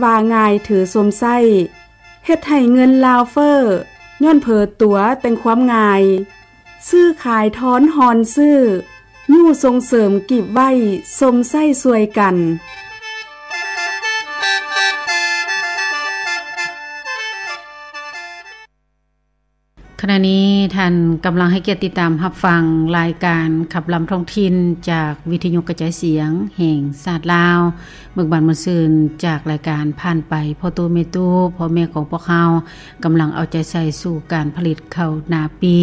ວ່າງ່າຍຖືຊົມໃຊ້ ເຮັດໃຫ້ເງິນລາວເຟີ້ ຍ້ອນເຜີຕົວແຕ່ງຄວາມງ່າຍ ຊື້ຂາຍທອນຮອນຊື້ ຍູ້ສົ່ງເສີມກີບໄວ້ຊົມໃຊ້ຊ່ວຍກັນ. ຂະນະນີ້ທ່ານກຳລັງໃຫ້ກຽດຕິດຕາມຮັບຟັງລາຍການຂັບລຳທ້ອງຖິ່ນ ຈາກວິທະຍຸກະຈາຍສຽງແຫ່ງຊາດລາວ. ເບີກບານມ່ວນຊື່ນຈາກລາຍການຜ່ານໄປ ພໍ່ຕູ້ແມ່ຕູ້ ພໍ່ແມ່ຂອງພວກເຮົາກຳລັງເອົາໃຈໃສ່ສູ່ການຜະລິດເຂົ້ານາປີ.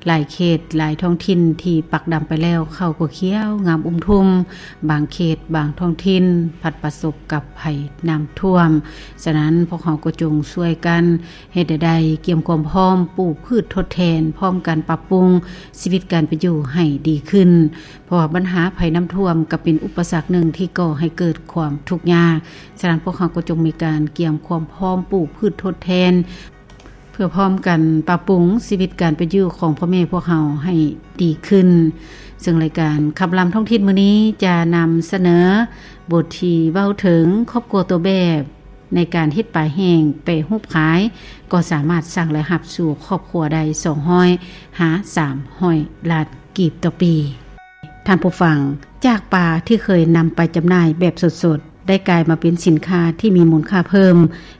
ຫຼາຍເຂດ, ຫຼາຍທ້ອງຖິ່ນທີ່ປັກດຳໄປແລ້ວ ເຂົ້າກໍຂຽວງາມອຸ້ມທຸ່ມ. ບາງເຂດ, ບາງທ້ອງຖິ່ນພັດປະສົບກັບໄພນ້ຳຖ້ວມ. ສະນັ້ນ, ພວກເຮົາກໍຈົ່ງຊ່ວຍກັນ ເຮັດໃດໆກຽມຄວາມພ້ອມປູກພືດທົດແທນ, ພ້ອມກັນປັບປຸງຊີວິດການເປັນຢູ່ໃຫ້ດີຂຶ້ນ, ເພາະວ່າບັນຫາໄພນ້ຳຖ້ວມກໍເປັນອຸປະສັກໜຶ່ງທີ່ກໍ່ໃຫ້ເກີດຄວາມທຸກຍາກ. ສະນັ້ນ, ພວກເຮົາກໍຈົ່ງມີການກຽມຄວາມພ້ອມປູກພືດທົດແທນ ເພື່ອພ້ອມກັນປັບປຸງຊີວິດການເປັນຢູ່ຂອງພໍ່ແມ່ພວກເຮົາໃຫ້ດີຂຶ້ນ. ເຊິ່ງລາຍການຂັບລຳທ້ອງຖິ່ນມື້ນີ້ຈະນຳສະເໜີບົດທີ່ເວົ້າເຖິງຄອບຄົວຕົວແບບ ໃນການເຮັດປາແຫ້ງແປຮູບຂາຍ ກໍສາມາດສ້າງລາຍຮັບສູ່ຄອບຄົວໄດ້ສອງຮ້ອຍຫາສາມຮ້ອຍລ້ານກີບຕໍ່ປີ. ທ່ານຜູ້ຟັງ, ຈາກປາທີ່ເຄີຍນຳໄປຈຳໜ່າຍແບບສົດໆ ໄດ້ກາຍມາເປັນສິນຄ້າທີ່ມີມູນຄ່າເພີ່ມ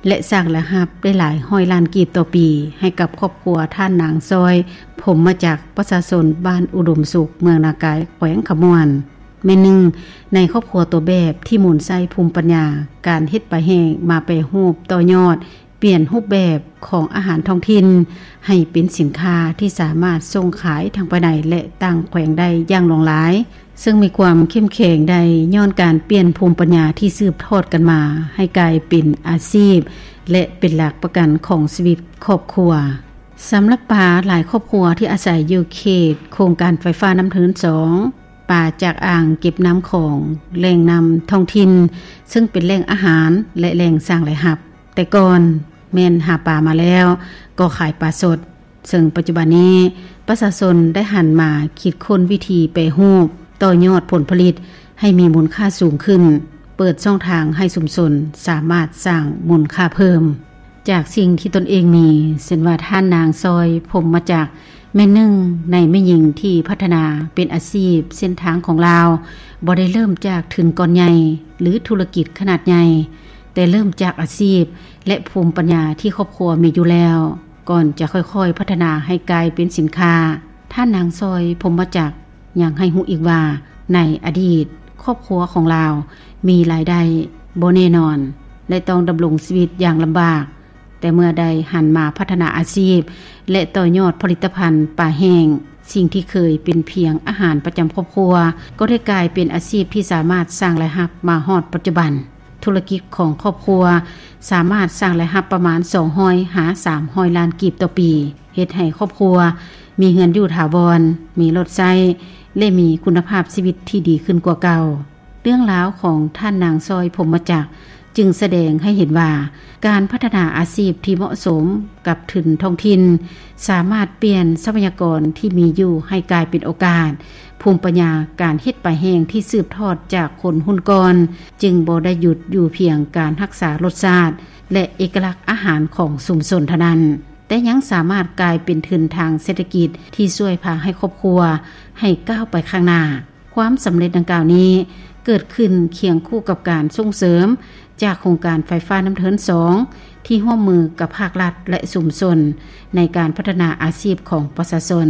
ແລະ ສ້າງລາຍຮັບໄດ້ຫຼາຍຮ້ອຍລ້ານກີບຕໍ່ປີ ໃຫ້ກັບຄອບຄົວທ່ານນາງຊອຍ ພົມມະຈັກ, ປະຊາຊົນບ້ານອຸດົມສຸກ, ເມືອງນາກາຍ, ແຂວງຄຳມ່ວນ. ແມ່ນໜຶ່ງໃນຄອບຄົວຕົວແບບທີ່ໝູນໃຊ້ພູມປັນຍາການເຮັດປາແຫ້ງມາແປຮູບຕໍ່ຍອດ, ປ່ຽນຮູບແບບຂອງອາຫານທ້ອງຖິ່ນໃຫ້ເປັນສິນຄ້າທີ່ສາມາດສົ່ງຂາຍທັງພາຍໃນ ແລະ ຕ່າງແຂວງໄດ້ຢ່າງຫຼວງຫຼາຍ, ເຊິ່ງມີຄວາມເຂັ້ມແຂງໄດ້ຍ້ອນການປ່ຽນພູມປັນຍາທີ່ສືບທອດກັນມາໃຫ້ກາຍເປັນອາຊີບ ແລະ ເປັນຫຼັກປະກັນຂອງຊີວິດຄອບຄົວ. ສຳລັບປາຫຼາຍຄອບຄົວທີ່ອາໄສຢູ່ເຂດໂຄງການໄຟຟ້ານ້ຳເທີນສອງ, ປາຈາກອ່າງເກັບນ້ຳຂອງ, ແຫຼ່ງນ້ຳທ້ອງຖິ່ນ, ເຊິ່ງເປັນແຫຼ່ງອາຫານ ແລະ ແຫຼ່ງສ້າງລາຍຮັບ. ແຕ່ກ່ອນແມ່ນຫາປາມາແລ້ວກໍຂາຍປາສົດ, ເຊິ່ງປັດຈຸບັນນີ້ປະຊາຊົນໄດ້ຫັນມາຄິດຄົ້ນວິທີແປຮູບ, ຕໍ່ຍອດຜົນຜະລິດໃຫ້ມີມູນຄ່າສູງຂຶ້ນ, ເປີດຊ່ອງທາງໃຫ້ຊຸມຊົນສາມາດສ້າງມູນຄ່າເພີ່ມຈາກສິ່ງທີ່ຕົນເອງມີ, ເຊັ່ນວ່າທ່ານນາງຊອຍ ພົມມະຈັກ ແມ່ນໜຶ່ງໃນແມ່ຍິງທີ່ພັດທະນາເປັນອາຊີບເສັ້ນທາງຂອງລາວ, ບໍ່ໄດ້ເລີ່ມຈາກທຶນກ້ອນໃຫຍ່ ຫຼື ທຸລະກິດຂະໜາດໃຫຍ່, ແຕ່ເລີ່ມຈາກອາຊີບ ແລະ ພູມປັນຍາທີ່ຄອບຄົວມີຢູ່ແລ້ວ, ກ່ອນຈະຄ່ອຍໆພັດທະນາໃຫ້ກາຍເປັນສິນຄ້າ. ທ່ານນາງຊອຍ ພົມມະຈັກ ຍັງໃຫ້ຮູ້ອີກວ່າ, ໃນອະດີດ, ຄອບຄົວຂອງລາວມີລາຍໄດ້ບໍ່ແນ່ນອນ ແລະ ຕ້ອງດຳລົງຊີວິດຢ່າງລຳບາກ, ແຕ່ເມື່ອໄດ້ຫັນມາພັດທະນາອາຊີບ ແລະ ຕໍ່ຍອດຜະລິດຕະພັນປາແຫ້ງ, ສິ່ງທີ່ເຄີຍເປັນພຽງອາຫານປະຈຳຄອບຄົວ ກໍໄດ້ກາຍເປັນອາຊີບທີ່ສາມາດສ້າງລາຍຮັບມາຮອດປັດຈຸບັນ. ທຸລະກິດຂອງຄອບຄົວສາມາດສ້າງລາຍຮັບປະມານສອງຮ້ອຍຫາສາມຮ້ອຍລ້ານກີບຕໍ່ປີ, ເຮັດໃຫ້ຄອບຄົວມີເຮືອນຢູ່ຖາວອນ, ມີລົດໃຊ້ ແລະ ມີຄຸນນະພາບຊີວິດທີ່ດີຂຶ້ນກວ່າເກົ່າ. ເລື່ອງລາວຂອງທ່ານນາງຊອຍ ພົມມະຈັກ ຈຶ່ງສະແດງໃຫ້ເຫັນວ່າ ການພັດທະນາອາຊີບທີ່ເໝາະສົມກັບທຶນທ້ອງຖິ່ນ ສາມາດປ່ຽນຊັບພະຍາກອນທີ່ມີຢູ່ໃຫ້ກາຍເປັນໂອກາດ, ພູມປັນຍາການເຮັດປາແຫ້ງທີ່ສືບທອດຈາກຄົນຮຸ່ນກ່ອນ ຈຶ່ງບໍ່ໄດ້ຢຸດຢູ່ພຽງການຮັກສາລົດຊາດ ແລະ ເອກະລັກອາຫານຂອງຊຸມຊົນເທົ່ານັ້ນ, ແຕ່ຍັງສາມາດກາຍເປັນທຶນທາງເສດຖະກິດທີ່ຊ່ວຍພາໃຫ້ຄອບຄົວໃຫ້ກ້າວໄປຂ້າງໜ້າ. ຄວາມສຳເລັດດັ່ງກ່າວນີ້ເກີດຂຶ້ນຄຽງຄູ່ກັບການສົ່ງເສີມຈາກໂຄງການໄຟຟ້ານ້ຳເທີນສອງ ທີ່ຮ່ວມມືກັບພາກລັດ ແລະ ຊຸມຊົນໃນການພັດທະນາອາຊີບຂອງປະຊາຊົນ.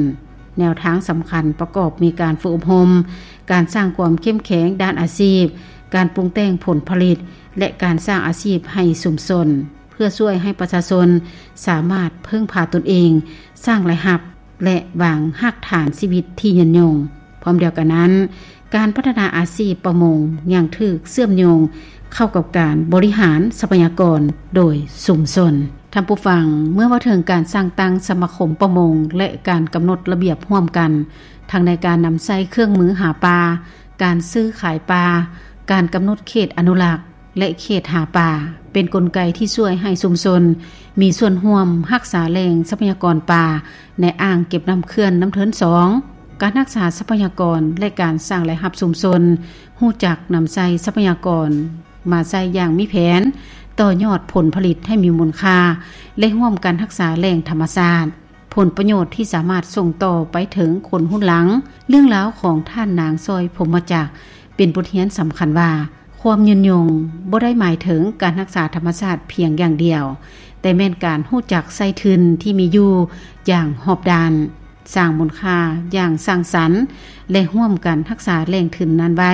ແນວທາງສຳຄັນປະກອບມີການຝຶກອົບຮົມ, ການສ້າງຄວາມເຂັ້ມແຂງດ້ານອາຊີບ, ການປຸງແຕ່ງຜົນຜະລິດ ແລະ ການສ້າງອາຊີບໃຫ້ຊຸມຊົນ ເພື່ອຊ່ວຍໃຫ້ປະຊາຊົນສາມາດເພິ່ງພາຕົນເອງ, ສ້າງລາຍຮັບ ແລະ ວາງຮາກຖານຊີວິດທີ່ຍືນຍົງ. ພ້ອມດຽວກັນນັ້ນ, ການພັດທະນາອາຊີບປະມົງຍັງຖືກເຊື່ອມໂຍງເຂົ້າກັບການບໍລິຫານຊັບພະຍາກອນໂດຍຊຸມຊົນ. ທ່ານຜູ້ຟັງ, ເມື່ອເວົ້າເຖິງການສ້າງຕັ້ງສະມາຄົມປະມົງ ແລະ ການກຳນົດລະບຽບຮ່ວມກັນ, ທັງໃນການນຳໃຊ້ເຄື່ອງມືຫາປາ, ການຊື້ຂາຍປາ, ການກຳນົດເຂດອະນຸລັກ ແລະ ເຂດຫາປາ ເປັນກົນໄກທີ່ຊ່ວຍໃຫ້ຊຸມຊົນມີສ່ວນຮ່ວມຮັກສາແຫຼ່ງຊັບພະຍາກອນປາໃນອ່າງເກັບນ້ຳເຂື່ອນນ້ຳເທີນສອງ. ການຮັກສາຊັບພະຍາກອນ ແລະ ການສ້າງລາຍຮັບຊຸມຊົນ ຮູ້ຈັກນຳໃຊ້ຊັບພະຍາກອນ ມາໃຊ້ຢ່າງມີແຜນ, ຕໍ່ຍອດຜົນຜະລິດໃຫ້ມີມູນຄ່າ ແລະ ຮ່ວມກັນຮັກສາແຫຼ່ງທຳມະຊາດ, ຜົນປະໂຫຍດທີ່ສາມາດສົ່ງຕໍ່ໄປເຖິງຄົນຮຸ່ນຫຼັງ. ເລື່ອງລາວຂອງທ່ານນາງ ຊອຍ ພົມມະຈັກ ເປັນບົດຮຽນສຳຄັນວ່າ ຄວາມຍືນຍົງບໍ່ໄດ້ໝາຍເຖິງການຮັກສາທຳມະຊາດພຽງຢ່າງດຽວ, ແຕ່ແມ່ນການຮູ້ຈັກໃຊ້ທຶນທີ່ມີຢູ່ຢ່າງຮອບດ້ານ, ສ້າງມູນຄ່າຢ່າງສ້າງສັນ ແລະ ຮ່ວມກັນຮັກສາແຫຼ່ງທຶນນັ້ນໄວ້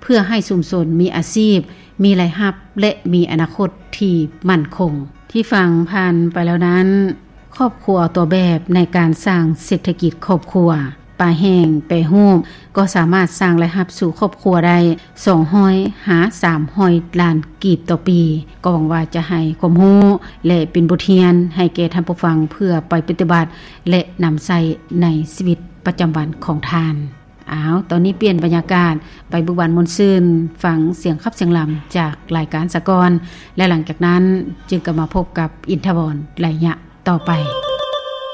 ເພື່ອໃຫ້ຊຸມຊົນມີອາຊີບ, ມີລາຍຮັບ ແລະ ມີອະນາຄົດທີ່ໝັ້ນຄົງ. ທີ່ຟັງຜ່ານໄປແລ້ວນັ້ນ, ຄອບຄົວຕົວແບບໃນການສ້າງເສດຖະກິດຄອບຄົວ, ປາແຫ້ງແປຮູບ ກໍສາມາດສ້າງລາຍຮັບສູ່ຄອບຄົວໄດ້ ສອງຮ້ອຍ ຫາ ສາມຮ້ອຍ ລ້ານກີບຕໍ່ປີ. ກໍຫວັງວ່າຈະໃຫ້ຄວາມຮູ້ ແລະ ເປັນບົດຮຽນໃຫ້ແກ່ທ່ານຜູ້ຟັງ ເພື່ອໄປປະຕິບັດ ແລະ ນຳໃຊ້ໃນຊີວິດປະຈຳວັນຂອງທ່ານ. ອ້າວ, ຕອນນີ້ປ່ຽນບັນຍາກາດ ໄປເບີກບານມ່ວນຊື່ນ, ຟັງສຽງຂັບສຽງລຳຈາກລາຍການສາກອນ ແລະ ຫຼັງຈາກນັ້ນຈຶ່ງກັບມາພົບກັບອິນທະວອນໄລຍະຕໍ່ໄປ.